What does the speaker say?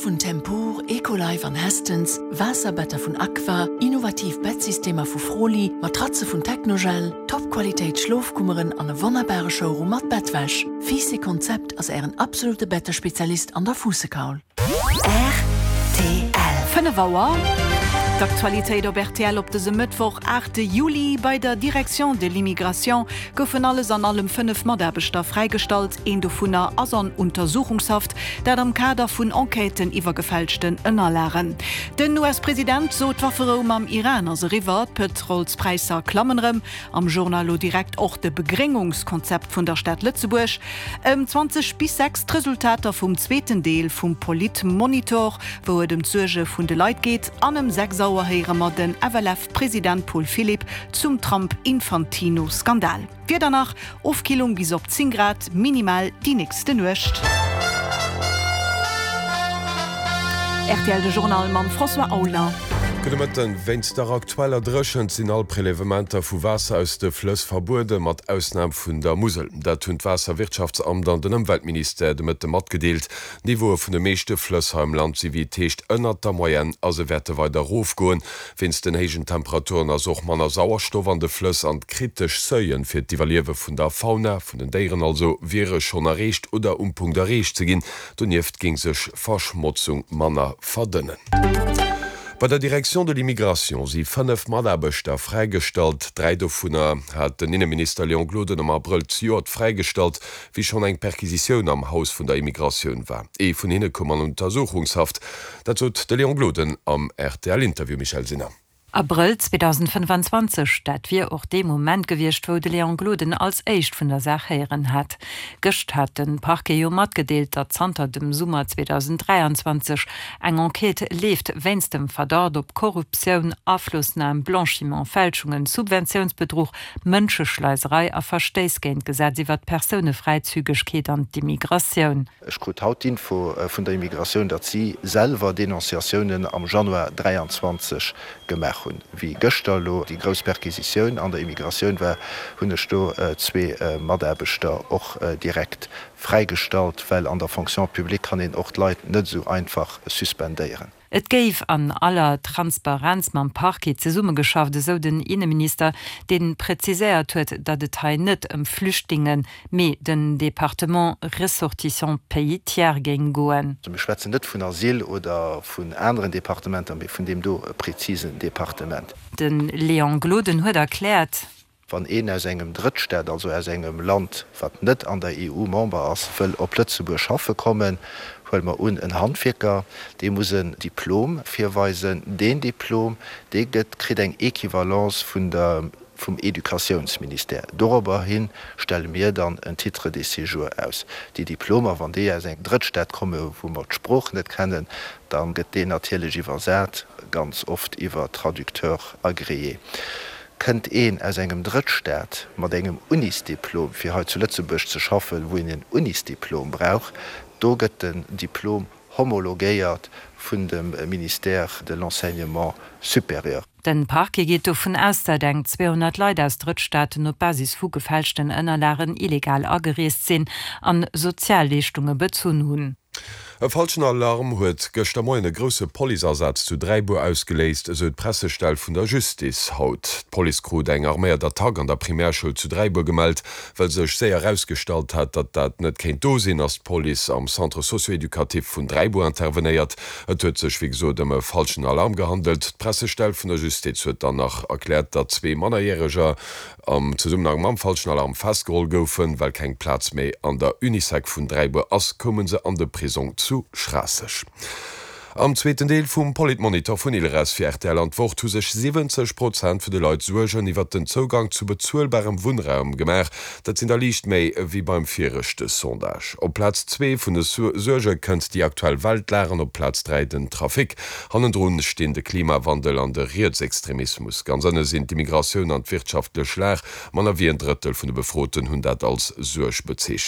vun Tempur, Ecolife an Hästens, Waasserbetter vun Aqua, innovativ Bettsystemer vu Froli, Matratze vun Technogel, Top-Qualitéit Schlofkummeren an e wonnerbare Showroom mat Bettwäsch. Fiiss Konzept ass ären absolute Bettespezialist an der Fuussekaul. Rtl. 5 Auer, D'Aktualitéit op rtl op dësem Mëttwoch, 8 Juli. Bei der Direction de l'immigration goufen alles an allem 5 Mataarbechter fräigestallt. Een dovunner ass an Untersuchungshaft, dat am Kader vun Enquêten iwwer gefälschten Ënnerlagen. Den US-President sot, d'Wafferou mam Iran ass eriwwer, d'Pëtrolspräisser klammen erëm. Am Journal elo direkt och de Begréngungskonzept vun der Stad Lëtzebuerg. Ëm 20 bis 6 d'Resultater vum zweeten Deel vum Politmonitor, wou et ëm d'Suerge vun de Leit geet. An ëm 6 Auer héiere mer den FLF-President Paul Philipp zum Trump-Infantino-Skandal. D'Wieder nach, Ofkillung bis op 10 Grad minimal déi nächste Nuecht. Rtl De Journal mam François Aulner. Gudde Mëtten. Wéinst der aktueller Dréchent sinn all Prelevementer vu Waasser aus de Flëss verbueden, mat Ausnam vun der Musel. Dat hunn d'Waasserwirtschaftsamt an den Ëmweltministère de Mëtte matgedeelt. D'Niveaue vun de meeschte Flëss hei am Land si wéi et heescht ënnert der Moyenne a se wäerte weider erofgoen. Wéinst den héijen Temperaturen ass och manner Sauerstoff an de Flëss an d'kritesch Seuilen fir d'Iwwerliewe vun der Fauna, vun den Déieren also, wiere schonn erreecht oder um Punkt erreecht ze ginn. Donieft géing sech Verschmotzung manner verdënnen. Bei der Direction de l'immigration si 5 Mataarbechter fräigestallt. 3 dovunner hat den Inneminister Léon Gloden am Abrëll zejoert fräigestallt, wéi schonn eng Perquisitioun am Haus vun der Immigratioun war. Ee vun hinne koum an Untersuchungshaft. Dat sot de Léon Gloden am RTL-Interview. Michèle Sinner. Abrëll 2025, dat wier och dee Moment gewiescht, wou de Léon Gloden als éischt vun der Saach héieren hat. Gëscht hat de Parquet jo matgedeelt, datt zanter dem Summer 2023 eng Enquête leeft wéinst dem Verdacht op Korruptioun, Aflossnam, Blanchiment, Fälschungen, Subventiounsbedruch, Mënscheschleiserei a Verstéiss géint d'Gesetz iwwer d'Persounefräizügegkeet an d'Immigratioun. Ech krut haut d'Info vun der Immigratioun, datt si selwer Denonciatiounen am Januar 23 gemaach hunn. Wéi gëschter elo déi grouss Perquisitioun an der Immigratioun war, hunn ech do zwee Mataarbechter och direkt fräigestallt, well an der Fonction publique kann een och d'Leit net esou einfach suspendéieren. Et géif an aller Transparenz mam Parquet zesummegeschafft, esou den Inneminister, dee präziséiert huet, datt et hei net ëm Flüchtlingen, mee den Departement Ressortissants pays tiers géing goen. Mir schwätzen net vun Asyl oder vun aneren Departementer, mee vun deem do prezisen Departement. De Léon Gloden huet erkläert. Wann een aus engem Drëttstaat, also aus engem Land, wat net an der EU Member ass, wëll op Lëtzebuerg schaffe kommen, huele mer un, en Handwierker, dee muss en Diplom virweisen. Deen Diplom, dee gëtt, kritt eng Equivalence vun der, vum Educatiounsministère. Dorobberhi stelle mir dann en Titre de séjour aus. Déi Diplomer, wann déi aus engem Drëttstaat kommen, wou mer d'Sprooch net kennen, da gëtt deen natierlech iwwersat, ganz oft iwwer Traducteurs agréés. Kënnt een aus engem Drëttstaat mat engem Unisdiplom fir hei zu Lëtzebuerg ze schaffen, wou een en Unisdiplom brauch, do gëtt den Diplom homologéiert vun dem Ministère de l'Enseignement supérieur. Den Parquet geet dovun aus, dat eng 200 Leit aus Drëttstaaten op Basis vu gefälschten Ënnerlagen illegal agereest sinn an Sozialleeschtunge bezunn hunn. E falschen Alarm huet gëschter Moien e grousse Policeasaz zu Dräibuer ausgeléist, esou d'Pressestell vun der Justiz haut. D'Police krut eng arméiert Attack an der Primärschoul zu Dräibuer gemellt. Well sech séier erausgestallt hat, datt dat net kéint do sinn, ass d'Police am Centre socio-éducatif vun Dräibuer intervenéiert. Et huet sech wéi gesot ëm e falschen Alarm gehandelt. D'Pressestell vun der Justiz huet dann nach erkläert, datt zwee Mannerjäreger am Zesummenhang mam falschen Alarm festgeholl goufen. Well keng Plaz méi an der Unisec vun Dräibuer ass, koume se an de Prisong zu Schraasseg. Am zweeten Deel vum Politmonitor vun Ilres fir rtl an d'Wort hu sech 70 Prozent vun de Leit Suergen iwwert den Zougang zu bezuelbarem Wunnraum gemaach. Dat sinn der liicht méi ewéi beim viregte Sondage. Op Plaz zwee vun de Suerge kënnt déi aktuell Weltlag an op Plaz 3 den Trafic. Hannendrun stinn de Klimawandel an de Rietsextremismus. Ganz ënne sinn d'Immigratioun an d'wirtschaftlech Lag. Manner wéi en Drëttel vun de Befroten hunn dat als Suerg bezeechent.